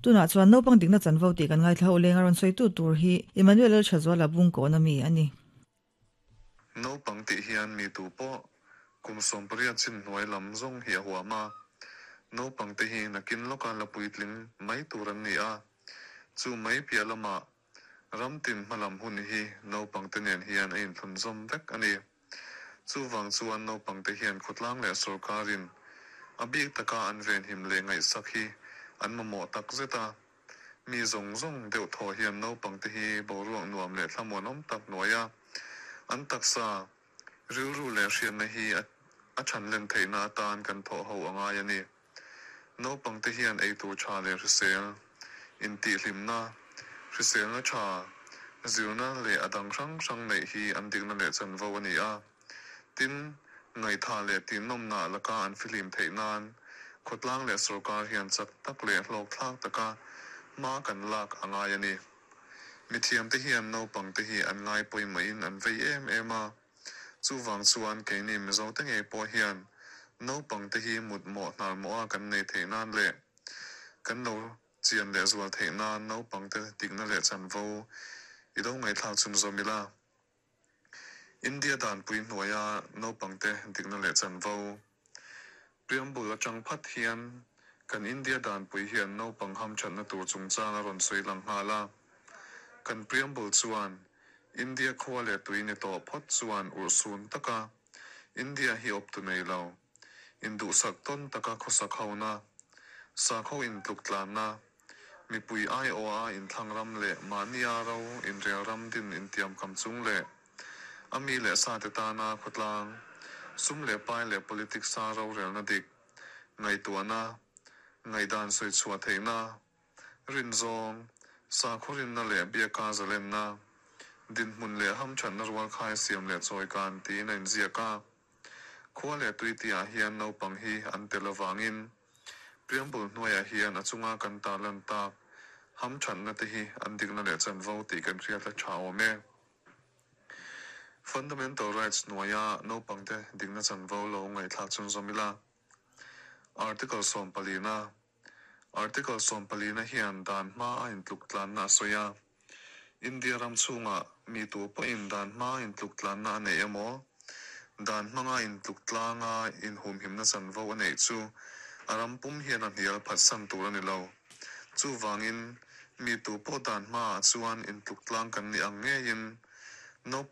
Tunah chuan naupang dikna chanvo tih kan ngaithla ho leng a rawn sawitu tur hi Emmanuel Lalthazuala Bungkawn ami a ni. Naupang tih hian mi tu pawh kum 18 chin hnuai lam zawng hi a huam a. Naupang te hi nakin lawka la puitling mai tur an ni a. Chu mai piah lamah ram tin hmalam hun hi naupang te nen hian a inthlunzawm vek a ni. Chuvang chuan naupang te hian khawtlang leh sawrkarin a bik taka an venhim leh ngaihsak hi an mamawh tak zet a. Mi zawng zawng deuh thaw hian naupang te hi boruak nuam leh thlamuanawm tak hnuaia an taksa rilru leh hriatna hi a thanlen theihna atan kan thawh ho a ngai a ni. Naupang te hian eitur tha leh hrisel, intihhlimna, hriselna tha, zirna leh a dang hrang hrang neih hi an dikna leh chanvo a ni a. Tin, ngaihthah leh tihnawmna laka an fihlim theih nan khawtlang leh sawrkar hian chak tak leh hlawkthlak taka hma kan lak a ngai a ni. Mithiam te hian naupang te hi an ngai pawimawhin an vei em em a. Chuvang chuan keini Mizo te ngei pawh hian naupang te hi mutmawh hnarmawha kan nei theih nan leh kan lo chian leh zual theih nan naupang te dikna leh chanvo i lo ngaihthlak chhunzawm ila. India danpui hnuaia naupang te dikna leh chanvo Preamble atang phat hian kan India danpui hian naupang hamthatna tur chungchang a rawn sawi lang nghal a. Kan preamble chuan India khua leh tui ni tawh phawt chuan urhsun taka India hi awp tu nei lo, induhsak tawn taka khawsak hona, sakho intluk tlanna, mipui aiawha inthlang ram leh mahnia ro inrel ram din intiam kam chung leh a mi leh sa te tana khawtlang, sum leh pai leh politics a rorelna dik, ngaihtuahna, ngaihdan sawi chhuah theihna, rinzawng, sakhaw rinna leh biaka zalenna, dinhmun leh hamthatna rual khai siam leh chawi kan tiin a inziak a. Khua leh tui tihah hian naupang hi an tel avangin preamble hnuaiah hian a chunga kan tarlan tak hamthatna te hi an dikna leh chanvo tih kan hriat a tha awm e. Fundamental rights hnuaia naupang te dikna chanvo lo ngaihthlak chhunzawm ila. Article 14na Article 14na hian dan hma a intluk tlanna a sawi a. India ram chhunga mi tu pawhin dan hma intluk tlanna a nei emaw, dan hmanga intluk tlanga inhumhimna chanvo a neih chu a ram pum hian a hnial phatsan tur a ni lo. Chuvangin mi tu pawh dan hmaah chuan intluk tlang kan ni ang ngeiin naupang.